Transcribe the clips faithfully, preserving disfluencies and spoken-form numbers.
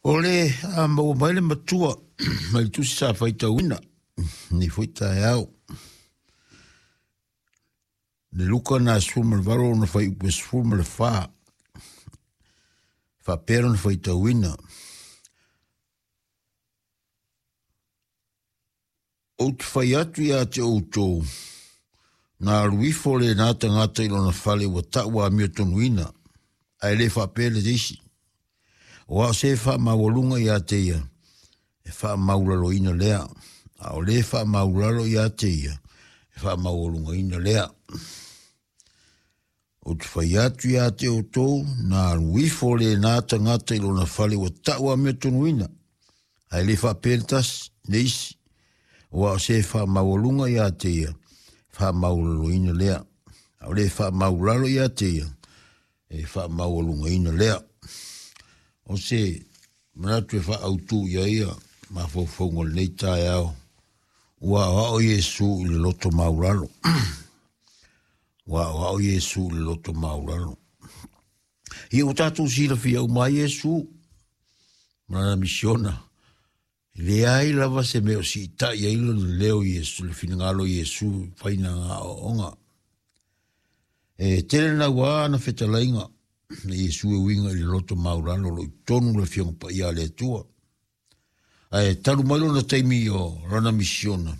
O le a maua mai le matua mai le tusi sa faitauina nei foi taeao. Le Luka na sefulu ma le valo ona fuaiupu e sefulu ma le fa. Faapea lona faitauina. Ou te fai atu ia te outou, na alu ifo lena tagata i lona fale ua tau amiotonuina, ae le faapea le isi. O ao se faamaualuga ia te ia, e faamaulaloina lea. A o le faamaulalo ia te ia, e faamaualugaina lea. Ou te fai atu ia te outou, na alu ifo lena tagata i lona fale ua tau amiotonuina, ae le faapea le tasi, le isi. O ao se faamaualuga ia te ia, faamaulaloina lea. A o le faamaulalo ia te ia, e faamaualugaina lea. O se manatu e faaautu ia ia mafaufauga o lenei taeao, ua aoao Iesu i le loto maulalo. Ua aoao Iesu i le loto maulalo. Ia ua tatou silafia uma ai Iesu ma lana misiona. E leai lava se mea o siitai ai lona leo Iesu, le finagalo o Iesu faina aoaoga. E tele naua ana fetalaiga na Iesu e uiga i le loto maulalo o lo o i totonu le Afioga Paia a le Atua. Ae talu mai lona taimi o lana misiona.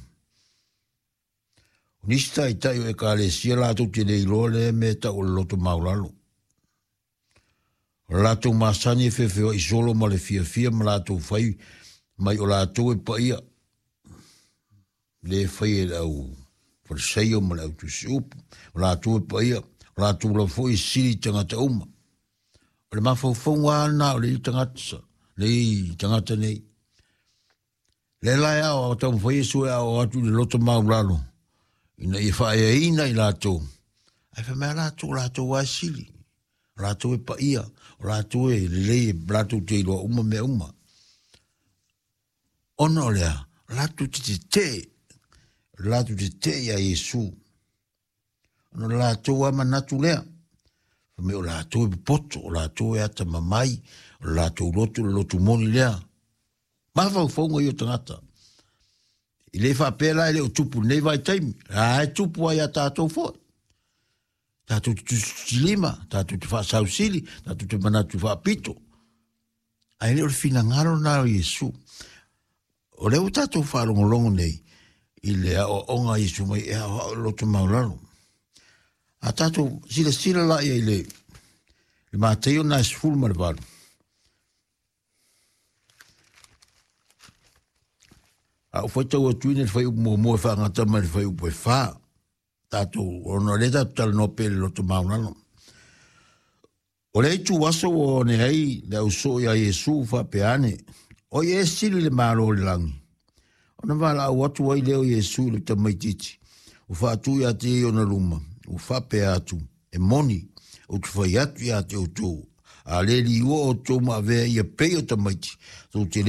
O nisi taitai o ekalesia latou te le iloa lea mea tau o le loto maulalo. O le latou masani e feofeoai solo ma le fiafia ma latou fai mai o latou e paia. Le fai e le au Fariseio ma le au tusiupu. O latou e paia, o latou lava foi e sili i tagata uma. O le mafaufauga lena o le tagata, le tagata nei. Le la e ao, taumafai Iesu e ao atu i le loto maulalo, ina ia faaeaina i latou. Ae fai mai latou, latou a sili. O latou e paia, o latou e lelei, latou te iloa uma mea uma. Ona o lea, o latou te tetee, o latou tetee ia Iesu. Ona o latou a manatu lea. Fai mai o latou e popoto, o latou e atamamai, o latou loto, le loto moni lea. Mafaufauga ia o tagata. I le faapea la e le o tupu nei vaitaimi. A e tupu ai a tatou foi. Tatou te tusitusilima, tatou te faasausili, tatou te manatu faapito. Ae le o le finagalo na o Iesu. O lea ua tatou faalogologo nei i le aoaoga a Iesu mai e aoao i le loto maulalo. A tatou silasila la ia i le, le Mateio na e sefulu ma le valu. A ou faitau atu ina le fuaiupu muamua e faagata mai le fuaiupu e fa. Tatou, ona o lea tatou talanoa pea i le loto maulalo. O le itu aso ua one ai le ausoo ia Iesu faapea ane, o ia e sili le malo o le lagi. Ona valaau atu ai lea o Iesu i le tamaitiiti, ua faatu ia te ia i ona luma, ua faapea atu, e moni, ou te fai atu ia te outou, a le liua outou ma avea ia pei o tamaiti, tou te le